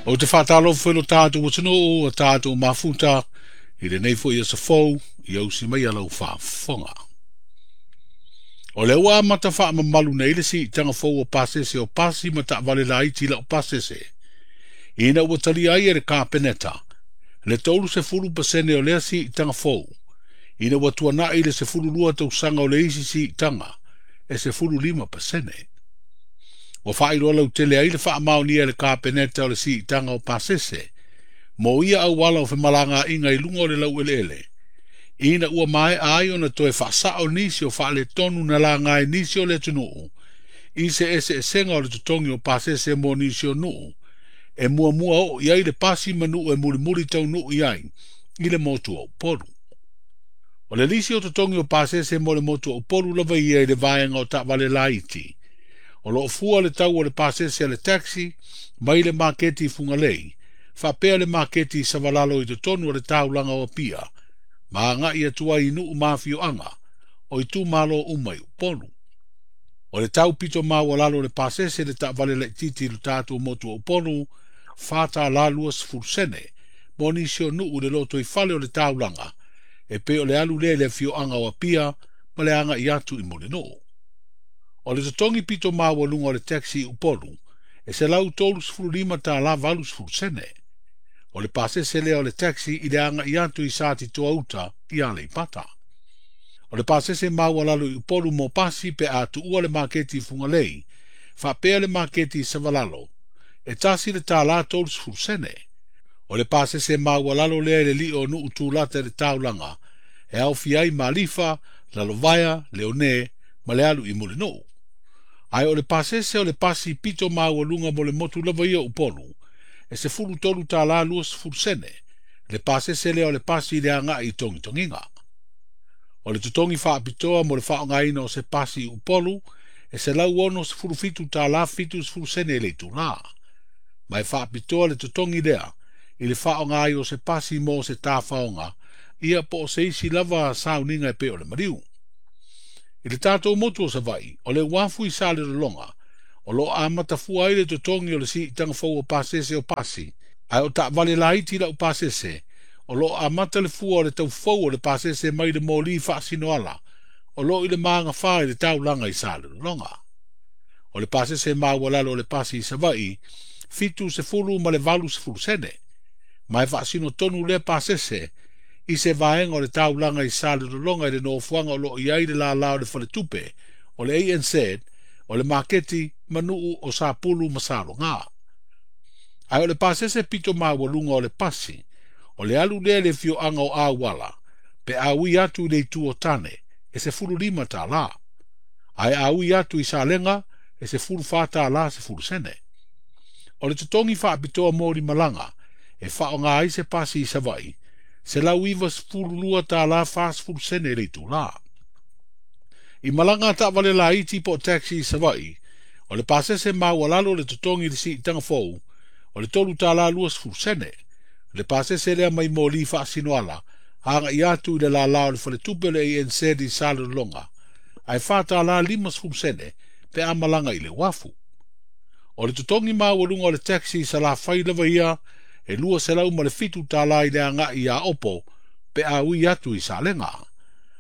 Ou te faatalofa foi i lo tatou atunuu, a tatou mafuta, i lenei foi aso fou, ia usi mai lau faafofoga. O lea ua amata faamamalu nei le siitaga fou o pasese o pasi ma taavale laiti lau pasese, ina ua talia ai e le Kapeneta le 30% o lea siitaga fou, ina ua tuanai le 12 tausaga o le isi siitaga e 15%. Ua faailoa lautele ai le faamaonia e le Kapeneta o le siitaga o pasese mo ia auala o femalagaaiga i luga o le laueleele, ina ua maea ai ona toe faasao nisi o faaletonu na laga e nisi o le atunuu i se eseesega o le totogi o pasese mo nisi o nuu e muamua oo i ai le pasi ma nuu e mulimuli taunuu i ai i le motu o Upolu. O le lisi o totogi o pasese mo le motu o Upolu lava ia i le vaega o taavale laiti. O loo fua le tau o le pasese a le taxi mai le maketi i Fugalei, faapea le maketi i Savalalo i totonu o le taulaga o Apia, ma agai atu ai i nuu ma afioaga o itumalo uma i Upolu. O le tau pito maualalo o le pasese le taavale laitiiti i le tatou motu o Upolu, $4.20 mo nisi o nuu i le lotoifale o le taulaga, e pei o le alu lea i le afioaga o Apia ma le agai atu i Mulinuu. O le totogi pito maualuga o le taxi i Upolu, e $135.80. O le pasese lea o le taxi i le agai atu i Satitoa uta i Aleipata. O le pasese maualalo i Upolu mo pasi pe a tuua le maketi i Fugalei, faapea le maketi i Savalalo, e $1.30. O le pasese maualalo lea i le lio o nuu tulata i le taulaga, e aofia ai Malifa, Lalovaea, Leone ma le alu i Mulinuu. Ae o le pasese o le pasi pito maualuga mo le motu lava ia o Upolu, e $13.20, le pasese lea o le pasi i le agai i Togitogiga. O le totogi faapitoa mo le faaaogaina o se pasi i Upolu, e $167.70 i le itulā. Ma e faapitoa le totogi lea i le faaaoga ai o se pasi mo se tafaoga, ia po o se isi lava sauniga e pei o le maliu. I le tatou motu o Savaii, o le uafu i Salelologa, o loo amata fua ai le totogi o le siitaga fou o pasese o pasi, ae o taavale laiti lau pasese, o loo amata le fua o le taufou o le pasese mai le moli faasinoala, o loo i le magafā i le taulaga i Salelologa. O le pasese maualalo o le pasi i Savaii, $70.80, ma e faasino tonu lea pasese i se vaega o le taulaga i Salelologa i le nofoaga o loo i ai le lala o le faletupe, o le ANZ, o le maketi manuu o Sapulu ma Saloga. Ae o le pasese pito maualuga o le pasi, o le alu lea i le afioaga o Auala, pe a ui atu i le itu o Tane, e $15. Ae a ui atu i Salega, e $14.10. O le totogi faapitoa mo limalaga, e faaaoga ai se pasi i Savaii, $192.40 i le itulā. I malaga a taavale laiti po o taxi i Savaii, o le pasese maualalo le totogi i le siitaga fou, o le $3.20. Le pasese lea mai moli faasinoala, agai atu i le lala o le faletupe o le ANZ i Salelologa, ae $4.50 pe a malaga i le uafu. O le totogi maualuga o le taxi i Salafai lava ia, e $207 i le agai i Aopo pe a ui atu i Salega.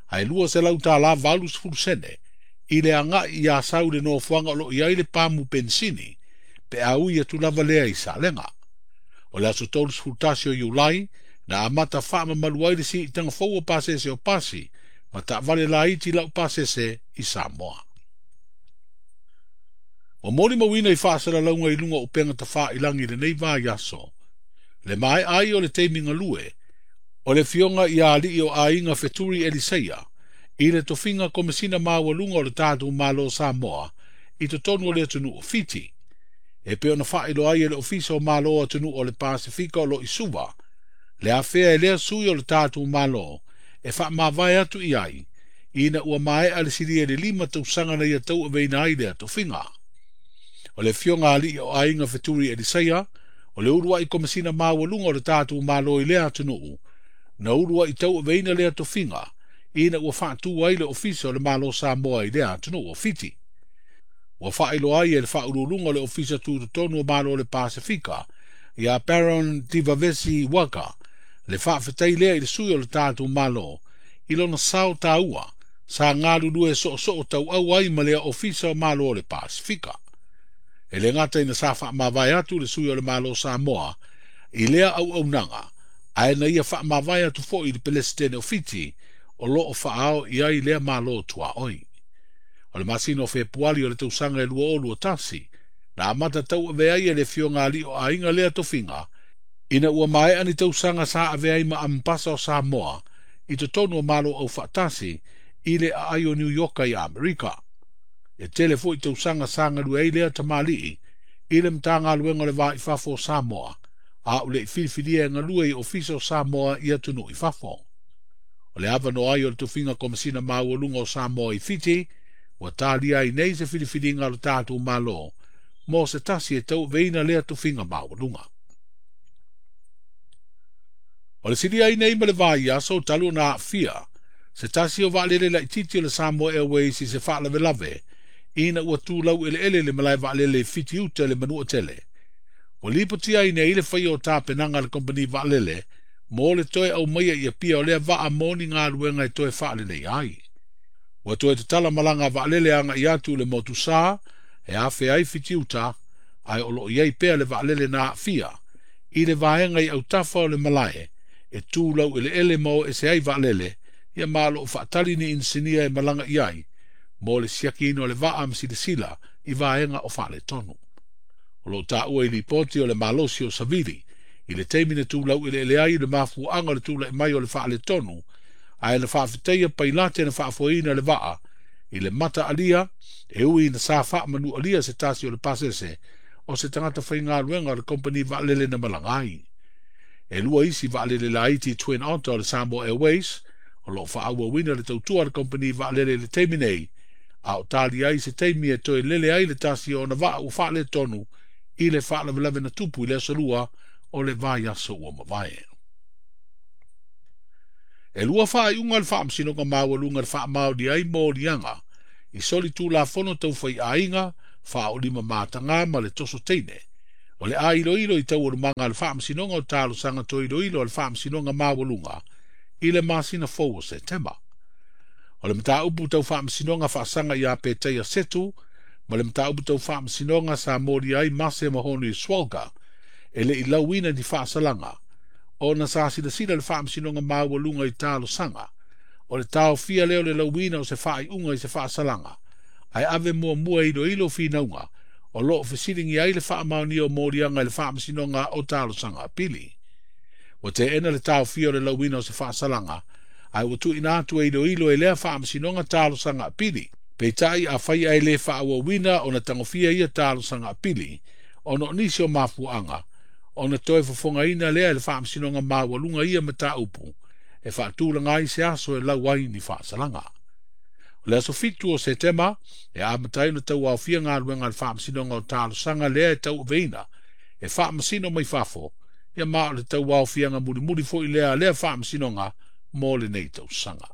Ae $200.80 i le agai i Asau i le nofoaga o loo i ai le pamu pensini pe a ui atu lava lea i Salega. O le aso 31 o Iulai, na amata faamamalu ai le siitaga fou o pasese o pasi ma taavale laiti lau pasese i Samoa. Ua molimauina i faasalalauga i luga o upega tafailagi i lenei vaiaso, le maea ai o le taimi galue o le afioga ia alii o aiga Feturi Eliseia i le tofiga komesina maualuga o le tatou Malo Samoa i totonu o le atunuu o Fiti. E pei ona faailoa ai e le Ofisa o Malo o Atunuu o le Pasefika o loo i Suva, le afea e lea sui o le tatou Malo e faamavae atu i ai, ina ua maea le silia i le 5 tausaga na ia tauaveina ai lea tofiga. O le afioga alii o aiga Feturi Eliseia, o le uluai komesina maualuga o le tatou Malo i lea atunuu, na uluai tauaveina lea tofiga, ina ua faatu ai le Ofisa o le Malo Samoa i lea atunuu o Fiti. Ua faailoa ai e le faauluuluga o le Ofisa Tutotonu o Malo o le Pasefika, Ia Baron Divavesi Waqa le faafetai lea i le sui o le tatou Malo i lona sao taua sa galulue soosoo tauau ai ma lea Ofisa o Malo o le Pasifika. E le gata ina sa faamavae atu le sui o le Malo Samoa i lea auaunaga, ae na ia faamavae atu foi i le Pelesitene o Fiti o loo faaao i ai lea Malo tuaoi. O le masina o Fepuari o le tausaga e 2021, na amata tauavea ai e le Afioga Alii o Aiga lea tofiga, ina ua maea ni tausaga sa avea ai ma Ambasa o Samoa i totonu o Malo Aufaatasi i le aai o Niu Ioka i Amerika. E tele foi tausaga sa galue ai lea tamalii i le Matagaluega o le Va i Fafo o Samoa, a o le filifilia e galue i Ofisa o Samoa i atunuu i fafo. O le avanoa ai o le tofiga Komesina Maualuga o Samoa i Fiti, ua talia ai nei se filifiliga o le tatou Malo mo se tasi e tauaveina lea tofiga maualuga. O le silia ai nei ma le vaiaso talu ona aafia se tasi o vaalele laitiiti o le Samoa Airways i se faalavelave ina ua tulau eleele le malae vaalele i Fiti Uta i le Manuatele. Ua lipotia ai nei le faia o tapenaga a le kompani vaalele mo le toe aumaia i Apia o lea vaa mo ni galuega e toe faaleleia ai. Ua toe tatala malaga vaalele agai atu i le motu sa e afea ai Fiti Uta, ae o loo i ai pea le vaalele na aafia i le vaega i autafa o le malae e tulau eleele ma o ese ai vaalele, ia ma o loo faatali ni inisinia e malaga i ai mo le siakiina o le vaa ma silasila i vaega o faaletonu. O loo taua i lipoti o le malosi o savili i le taimi na tulau eleele ai le mafuaaga o le tulai mai o le faaletonu, ae na faafetaia pailate na faafoeina le vaa i le mata alia e ui ina sa faamanualia se tasi o le pasese o se tagata faigaluega o le kompani vaalele na malaga ai. E lua isi vaalele laiti Twin Otter o le Samoa Airways o loo faaauauina le tautua a le kompani vaalele i le taimi nei, a o tali ai se taimi e toe lele ai le tasi o ona vaa ua faaletonu i le faalavelave na tupu i le aso Lua o le vaiaso ua mavae. E lua faaiuga o le Faamasinoga Maualuga na faamaonia ai moliaga i soli tulafono taufaiaiga, faaolima mataga ma le toso teine. O le a iloilo i taualumaga a le Faamasinoga o Talosaga toe iloilo a le Faamasinoga Maualuga i le masina fou o Setema. O le mataupu tau faamasinoga faasaga ia Petaia Setu ma le mataupu tau faamasinoga sa molia ai Mase Mahoni Swalga e le i lauina ni faasalaga, ona sa silasila le Faamasinoga Maualuga i talosaga o le taofia lea o le lauina o se faaiuga i se faasalaga, ae ave muamua e iloilo finauga o loo fesiligia ai le faamaonia o moliaga i le Faamasinoga o Talosaga Apili. Ua teena le taofia o le lauina o se faasalaga, ae ua tuuina atu e iloilo e lea Faamasinoga Talosaga Apili. Peitai afai ae le faaauauina ona tagofia ia talosaga apili ona o nisi o mafuaaga, ona toe fofogaina lea e le Faamasinoga Maualuga ia mataupu e faatulaga ai se aso e lau ai ni faasalaga. O le aso 7 o Setema e amata ai ona tauaofia galuega a le Faamasinoga o Talosaga lea e tauaveina e faamasino mai fafo, ia ma o le tauaofiaga mulimuli foi lea a lea Faamasinoga mo lenei tausaga.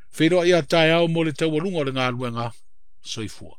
Feiloai a taeao mo le taualuga o le galuega. Soifua.